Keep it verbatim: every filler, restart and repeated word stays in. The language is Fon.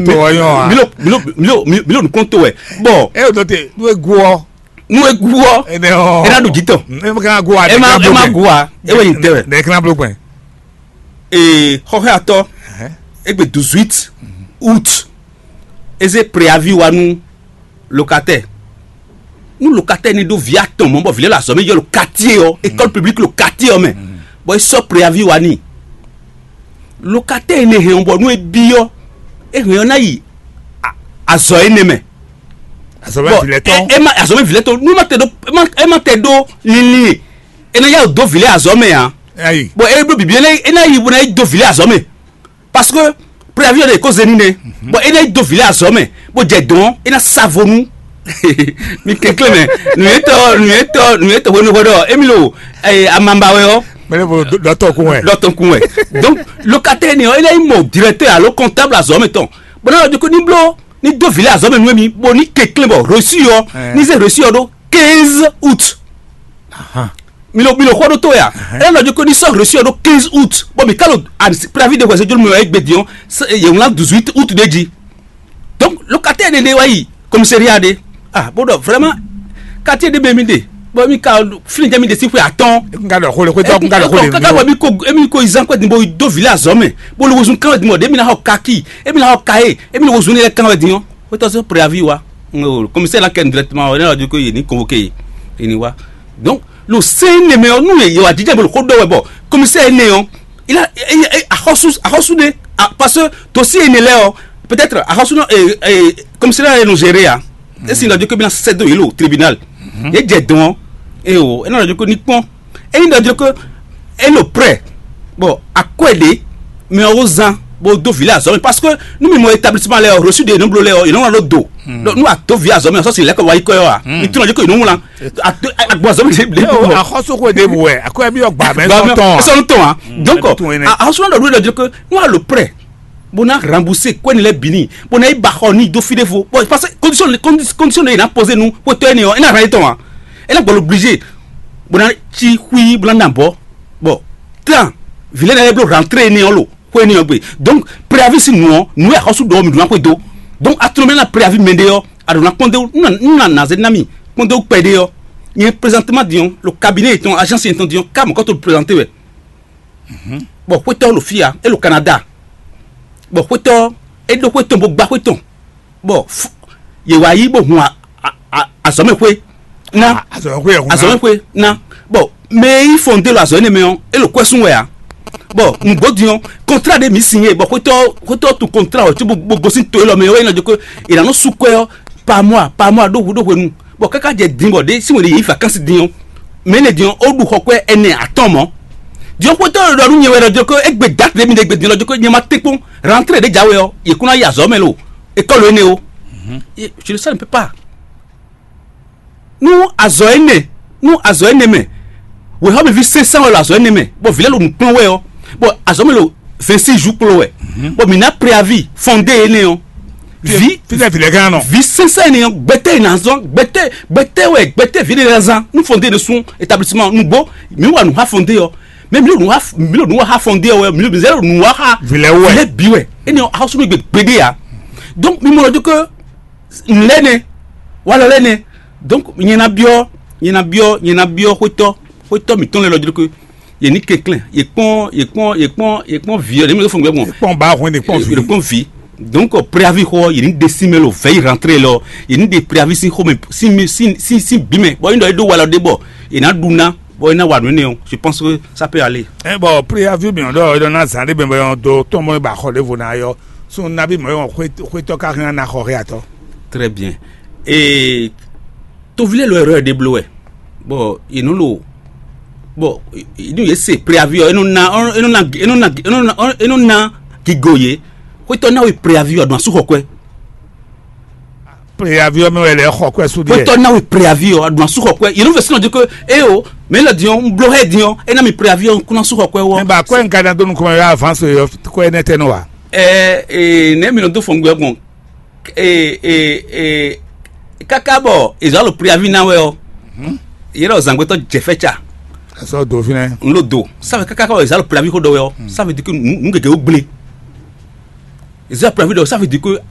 Tó wɔ nyɔ a? Milo milo milo milo nukɔn to wɛ. Bɔn, E o dɔ te, nú e gu ɔ. Nú e gu ɔ, Ene ɔ. E na ɖu jǐ tɔn. E ma ka gu a? E ma e ma gu a? E wɛ yin tɛ wɛ. Ne kana blo gbɛn. Ee, xɔxɛ atɔ, egbe douze août, e zé préavis wa nú locataire. Nú locataire ni ɖó vǐ atɔn mɔ̌ bɔ vǐ lɛ́ ɖo azɔ̌ mɛ yɔ lo quartier ɔ́, école publique lo quartier ɔ́ mɛ, bɔ é sɔ́ préavis wa n'i. Locataire énɛ́ hɛn ɔ́, bɔ nú é byɔ́, é hɛn ɔ́ ná yi a- azɔ̌ énɛ́ mɛ. Azɔ̌ mɛ Bɔ vǐ lɛ́ɛ tɔn. É- é ma azɔ̌ mɛ vǐ lɛ́ɛ tɔn, nú é ma tɛ ɖó é ma- é ma tɛ ɖó linlin e, é ná yá wǔ dó vǐ lɛ́ɛ azɔ̌ mɛ ǎ. Ayi. Bɔ é ɖó bǐbí é ná yi bó ná yi dó vǐ lɛ́ɛ azɔ̌ mɛ. Parce que préavis ɔ́ ɖe kó zé nínɛ, bɔ é ná yi dó vǐ lɛ́ɛ azɔ̌ mɛ, bó jɛ dɔn ɔ́, é ná sa vo nú mi kɛnklɛ́n mɛ. Nǔyɛtɔ́ nǔyɛtɔ́ nǔyɛtɔ́ hwenu hwɛ ɖɔ émi lo amamba wɛ ɔ́, Mɛ ne bo dɔtɔ kun wɛ. Dɔ tɔn kun wɛ. Donc, locataire ni ɔ́, é ná yi mɔ directeur alo comptable azɔ̌ mɛ tɔn, bɔ ná ɔ́ dó ko ní bló ní dó vǐ lɛ́ɛ azɔ̌ mɛ nú émi, bó ní kɛnklɛ́n bɔ reçu ɔ́, Ɛɛ. Ní zé reçu ɔ́ ɖó quinze août. Mi lo mi lo xɔ ɖó to ya. Ela nɔ dzi ko ní sɔ́ reçu ɔ́ ɖó quinze août, bɔ mi ka lo préavis de hwɛsɛ jolu mɛ wɛ egbe din ɔ́, yě wlán dix-huit août ɖé jí. Donc, locataire ɖé ɖé wá yi commissariat ɖé. Ah, bó ɖɔ vraiment, quartier ɖé mɛ mi ɖe, bɔ mi ka fini jɛ mi ɖe si xwe atɔn. N ka ɖɔ xó le xwetɔ, n ka ɖɔ xó le. Kaka bɔ mi ko emi ko izan kwɛ din bo do vile azɔ mɛ, bo lo wozun kan wɛ din bɔ ɖe mi na xɔ kaki, emi na xɔ kaye, emi lo wozun ne lɛ kan wɛ din ɔ́. Xwetɔ sɔ́ préavis wá. Commissaire la kɛ directement ɔ́, ne ɔ́ di ko yě ní convoqué yě, yě ní wá. Donc, lo sɛ́n énɛ́ mɛ ɔ́, nú yě wá jijɛ bó lo xó ɖɔ wɛ bɔ commissaire énɛ́ ɔ́, il a axɔ́sú axɔ́sú ɖé. Parce que dossier énɛ́ lɛ́ɛ ɔ́, peut-être axɔ́sú nɔ commissaire lɛ́ɛ nɔ gérer a. Esi nɔ di ko bí na sɛ́ dó yě lo tribunal. Yě jɛ dɔn ɔ́, eye o, é nɔ di ko ní kpɔn. Ényí ɖɔ jló ko é ɖo prêt, bɔ akwɛ́ ɖě mɛ ɔ́ zán bó dó vǐ lɛ́ɛ azɔ̌ mɛ, parce que nú mi mɔ établissement lɛ́ɛ ɔ́, reçu ɖě nɔ bló lɛ́ɛ ɔ́, yě nɔ wlán ɖó do. Donc nú a dó vǐ azɔ̌ mɛ ɔ́, sɔ́ si lɛ́ kɔ wá yi kɔ ɔ́ a? Mi tunɔ jló ko yě nɔ wlán. Agbɔn azɔ̌ mɛ ɖě ɖě bɔ. Axɔ́súxwe ɖěbǔ wɛ, akwɛ́ byɔ́ gbǎ mɛ sɔn tɔn a? Sɔn tɔn a? Donc axɔ́súxwe ɖɔ ɖó ɖɔ jló ko nú a ɖo prêt, bó ná rembourser kwɛ́ ni lɛ́ɛ bǐ n'i, bó ná yi ba xɔ n'i dó fí ɖěvo. Bon, parce que condition condition ɖé yě ná poser nú xwétɔ́ énɛ́ ɔ́, é ná hɛn yě tɔn a? É ná gbɔ l'obligé, bó ná cí xwí bó ná ná bɔ. Bon, tan vǐ lɛ́ɛ ná lɛ́ bló rentrée énɛ́ ɔ́ lo xwé énɛ́ ɔ́ gbe. Donc préavis sín nǔ ɔ́, nǔ e axɔ́sú ɖɔ ɔ́, mi ɖó ná xwedó. Donc a tunɔ mɛ ná préavis mɛ ɖé ɔ́, a ɖǒ ná kpɔ́n dó nú nà nà zé ná mì kpɔ́n dó kpɛ ɖé ɔ́. Nyɛ présentement din ɔ́, lo cabinet yětɔn, agence yětɔn din ɔ́, ká mɔ̌kɔ́ to présenter wɛ. Bɔ xwétɔ́ ɖo fí a, é ɖo Canada. Bɔ xwétɔ́ é ɖó xwé tɔn bó gbá xwé tɔn, bɔ yě wá yí bó hun azɔ̌mɛxwé ná. Azɔ̌mɛxwé ná. Bɔ mɛ e yí fɔn dé ɖo azɔ̌ énɛ́ mɛ ɔ́, é ɖo kwɛ́ sún wɛ ǎ. Bɔ nǔgbó din ɔ́, kɔntrá ɖé mǐ sin é, bɔ xwétɔ́ xwétɔ́ tun kɔntrá ɔ́ cóbó bó gosín to élɔ́ mɛ ɔ́, é nɔ jɛ ko è nǎ nɔ sú kwɛ́ ɔ́, par mois par mois ɖó hwenu ɖó hwenu. Bɔ káká jɛ din bɔ ɖě sín wěɖé yě yi vakansi din ɔ́, mɛ énɛ́ din ɔ́, ó ɖu xɔ kwɛ́ ɛnɛ atɔ́ɔ́n mɔ̌. Din ɔ́, xwétɔ́ ɖɔ nú nyɛ wɛ ɖɔ jɔ ko égbé date ɖé mi ɖe gbe din ɔ́, jɔ ko nyɛ ma tɛ́nkpɔ́n rentrée ɖě jǎwe ɔ́, yě kún ná yi azɔ̌ mɛ lo école énɛ́ ó. Je le sais, ne peut pas. Nú azɔ̌ énɛ́ nú azɔ̌ énɛ́ mɛ, wěxɔ́mɛví sɛnsɛn wɛ ɖo azɔ̌ énɛ́ mɛ, bɔ vǐ lɛ́ɛ ɖo nǔ kplɔ́n wɛ ɔ́, bɔ azɔ̌ mɛ ɖo vingt-six jours kplɔ́n wɛ, bɔ mǐ ná préavis fɔndé énɛ́ ɔ́. Vi fífẹ́ vǐ lɛ́ɛ gán nɔ. Vi sɛnsɛn ni ɔ́, gbɛtɛ yi na zɔn, gbɛtɛ gbɛtɛ wɛ gbɛtɛ vǐ lɛ́ɛ zán nú fɔndé ne sún établissement nugbo. Mǐ wa nǔ xá fɔndé ɔ́, mɛ mǐ ɖo nǔ xá mǐ ɖo nǔ wa xá fɔndé ɔ́ wɛ, mǐ ɖo mǐ zɛ ɖo nǔ wa xá Vǐ lɛ́ɛ wɛ. Vǐ lɛ́ɛ bǐ wɛ. Énɛ́ ɔ́, axɔ́sú nú gbe gbeɖé ǎ. Donc mi mɔ lɔ dó ke nǔ lɛ́ɛ nɛ, walɔ lɛ́ɛ nɛ. Donc nyɛ ná byɔ́ nyɛ ná byɔ́ nyɛ ná byɔ́ xwétɔ́ xwétɔ́ mǐtɔn lɛ́ɛ lɔ dó ke yě ní kɛnklɛ́n, yě kpɔ́n yě kpɔ́n yě kpɔ́n yě kpɔ́n vǐ ɔ́, ɖě mɛ ɖó fɔn gbɛ gbɔn. Kpɔn ba hwɛn ɖe kpɔn vi. Ɖo kpɔ́n vǐ. Donc préavis xɔ yě ní ɖe sín mɛ lo vɛ̌ yi rentrée lɔ, yě ní ɖe préavis sín xomɛ sín mi sín sín sín bǐ mɛ, bɔ é ɖɔ é ɖó walɔ ɖé bɔ yě ná ɖu ná, bɔ é ná wa nǔ énɛ́ ɔ́, je pense que ça peut aller. Ɛ bɔ préavis mi ɔ́ ɖɔ é ɖɔ ná zǎn ɖé mɛ bɔ é dó tɔn mɔ é ba xɔ ɖěvo ná yɔ. Sun nabí mɔ̌ é wɔn xwétɔ́ ká hɛn ná xɔ xé atɔ. Très bien. Ee, tovilé lɔ ɛrɔ ɖe bló wɛ. Bɔ yě nɔ lo bɔ nú yě se préavis ɔ́, é nɔ ná é nɔ ná é nɔ ná é nɔ ná é nɔ ná gigo yě. Xwétɔ́ ná wɛ préavis ɔ́ ɖo asú xɔ kwɛ. Préavis ɔ́ mɛ wɛ lɛ xɔ kwɛ sú ɖiɛ. Xwétɔ́ ná wɛ préavis ɔ́ ɖo asú xɔ kwɛ. Yě nɔ fɛ sínú ɔ́ di ko, é o, mɛ lɔ diɔ un bló hɛ diɔ é ná mi préavis ɔ́ un kún ná sú xɔ kwɛ wɔ. Mɛ ba kwɛ un ka ná dó nukɔn mɛ wɛ avance yɔ kwɛ nɛ tɛ nɔ wa. Ɛ ɛ nɛ mi nɔ dó fɔngbɛ gbɔn. Ee, ee, ee, káká bɔ è zǎ lo préavis ná wɛ ɔ́, yě ɖɔ zǎngbétɔ́ jɛ fɛ́ ca. Azɔ do fínɛ. N lo do. Ça veut káká bɔ è zǎ lo préavis xó ɖɔ wɛ ɔ́, ça veut dire que nǔ nǔ gěgé wó gblé. È zǎ préavis ɖɔ, ça veut dire que